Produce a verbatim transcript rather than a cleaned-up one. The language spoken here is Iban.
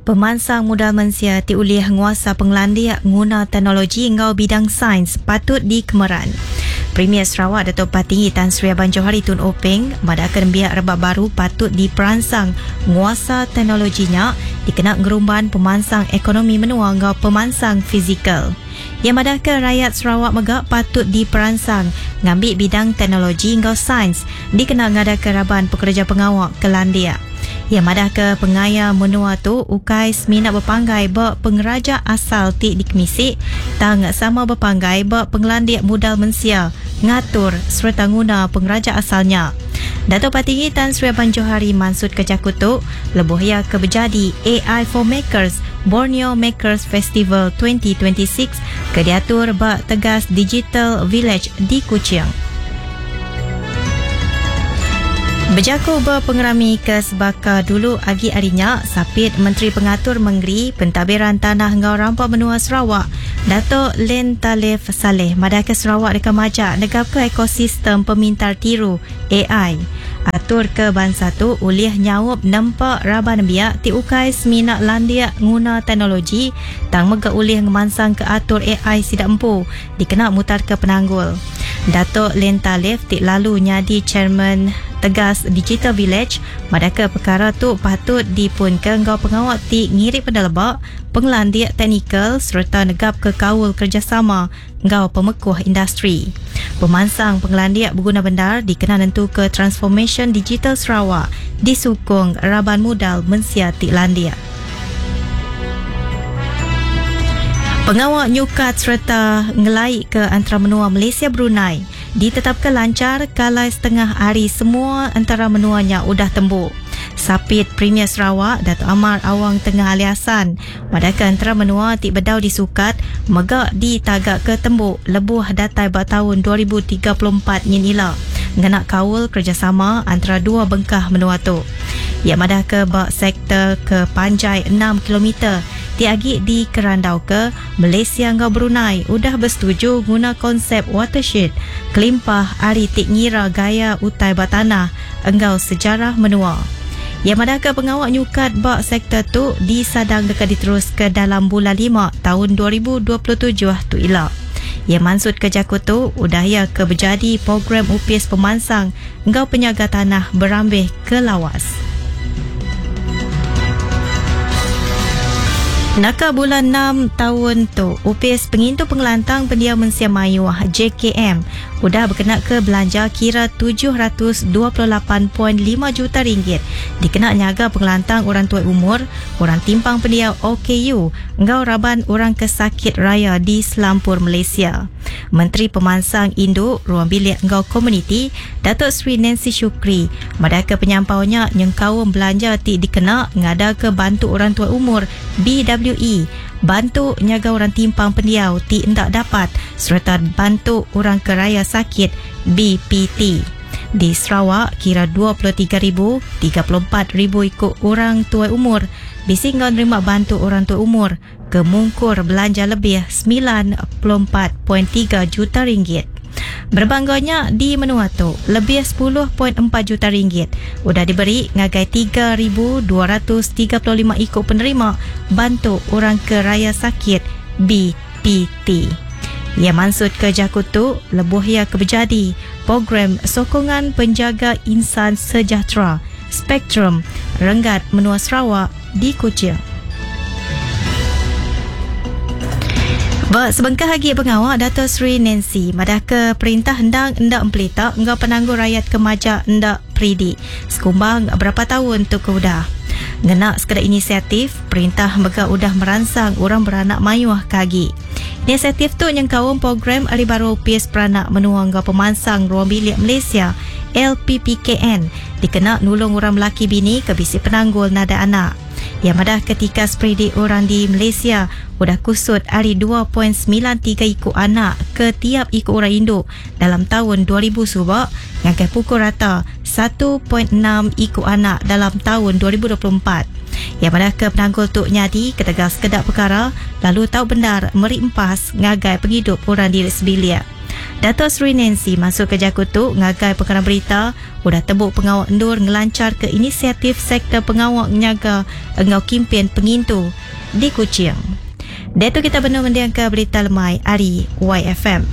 Pemansang modal mensia ti ulih nguasa penglandia nguna teknologi ngau bidang sains patut dikemeran. Premier Sarawak Datuk Patinggi Tan Sri Abang Johari Tun Openg madahkan biak rebak baru patut diperansang nguasa teknologinya dikena ngerumban pemansang ekonomi menua ngau pemansang fizikal. Yang madahkan rakyat Sarawak megak patut diperansang ngambil bidang teknologi ngau sains dikena ngadakan raban pekerja pengawak ke Landia. Yang madah ke pengaya menua tu ukai semina berpanggai ba pengeraja asal ti dikemisi tang sama berpanggai ba penglandik modal mensia ngatur serta nguna pengeraja asalnya. Datuk Patinggi Tan Sri Abang Johari mansut ke Jakutu lebuh ia ke berjadi A I for Makers Borneo Makers Festival dua ribu dua puluh enam ke diatur ba Tegas Digital Village di Kuching. Berjaku berpengerami ke sebaka dulu agi arinya, Sapit Menteri Pengatur Mengeri Pentadbiran Tanah Ngau Rampa Menua Sarawak, Datuk Len Talif Saleh madah ke Sarawak dekat majak negap ke ekosistem pemintar tiru A I. Atur ke bangsa tu ulih nyaup nempak raban biak ti ukai semina landia nguna teknologi tang mega ulih ngemansang ke atur A I sidak empu dikena mutar ke penanggul. Datuk Len Talif ti lalu nyadi chairman Tegas Digital Village madah ke perkara tu patut dipunke ngau pengawak ti ngiri pendelebak penglandik teknikal serta negap ke kaul kerjasama ngau pemekuh industri. Pemansang penglandik berguna bendar dikena nentu ke transformation digital Sarawak disukung raban modal mensia ti landik. Pengawak nyukat serta ngelai ke antara menua Malaysia Brunei ditetapkan lancar kalai setengah hari semua antara menuanya udah tembuk. Sapit Premier Sarawak Datuk Amar Awang Tengah Ali Hasan madahkan antara menua ti bedau disukat megak ditagak ke tembuk lebuh datai ba tahun dua ribu tiga puluh empat nyin ila ngena kaul kerjasama antara dua bengkah menua tu. Ia madah ke ba sektor ke panjai enam kilometer ti agi di Kerandau ke Malaysia ngau Brunei udah bersetuju guna konsep watershed kelimpah ari ti ngira gaya utai ba tanah engau sejarah menua. Ia madah ke pengawak nyukat ba sektor tu disadang dekat diterus ke dalam bulan lima tahun dua ribu dua puluh tujuh tu ila. Ia maksud ke Jakutu udah ia ke berjadi program upis pemansang engau penyaga tanah berambih ke Lawas. Naka bulan enam tahun tu, Upis Pengintu Pengelantang Pendiam Mensia Mayuah J K M udah berkena ke belanja kira tujuh ratus dua puluh lapan perpuluhan lima juta ringgit dikena nyaga pengelantang orang tua umur, orang timpang pendiam O K U, engau raban orang kesakit raya di Selampur Malaysia. Menteri Pemansang Induk Ruang Bilik Engau Komuniti Datuk Seri Nancy Shukri madah ke penyampaunya nyengkaum belanja ti dikena ngada ke bantu orang tua umur B W E, bantu nyaga orang timpang pendiau ti endak dapat serta bantu orang keraya sakit B P T. Di Sarawak, kira dua puluh tiga ribu, tiga puluh empat ribu ikut orang tua umur bisi ngau nerima bantu orang tua umur ke mungkur belanja lebih sembilan puluh empat perpuluhan tiga juta ringgit. Berbangganya di menua tu lebih sepuluh perpuluhan empat juta ringgit udah diberi ngagai tiga ribu dua ratus tiga puluh lima ikut penerima bantu orang ke raya sakit B P T. Ia maksud ke Jakutu lebuh ia ke berjadi program sokongan penjaga insan sejahtera Spektrum Renggat Menua Sarawak di Kuching. Ba sebengkah lagi pengawak Dato' Sri Nancy madah ke perintah hendang endak empelita engau penangguh rakyat kemaja endak peridi sekumbang berapa tahun tu ke udah. Ngena sekeda inisiatif perintah mega udah meransang orang beranak mayuh kagi. Inisiatif tu nyengkaum program Ari Baru P S Peranak Menua Engau Pemansang Ruang Bilik Malaysia L P P K N dikena nulung orang lelaki bini ke bisi penanggul nada anak. Yang madah ketika spreadik orang di Malaysia udah kusut ari dua perpuluhan sembilan tiga ikut anak ke tiap ikut orang induk dalam tahun dua ribu subak ngagai pukul rata satu perpuluhan enam ikut anak dalam tahun dua ribu dua puluh empat. Iya madah ke penanggul tu nyadi ketegal sekeda perkara lalu tau bendar meri empas ngagai pengidup orang diri sebilik. Dato' Sri Nancy masuk ke jaku tu ngagai perkara berita udah tebuk pengawal endur ngelancar ke inisiatif sektor pengawal nyaga engau kimpin pengintu di Kuching. Datu kita benar mendiang ke berita lemai ari Y F M.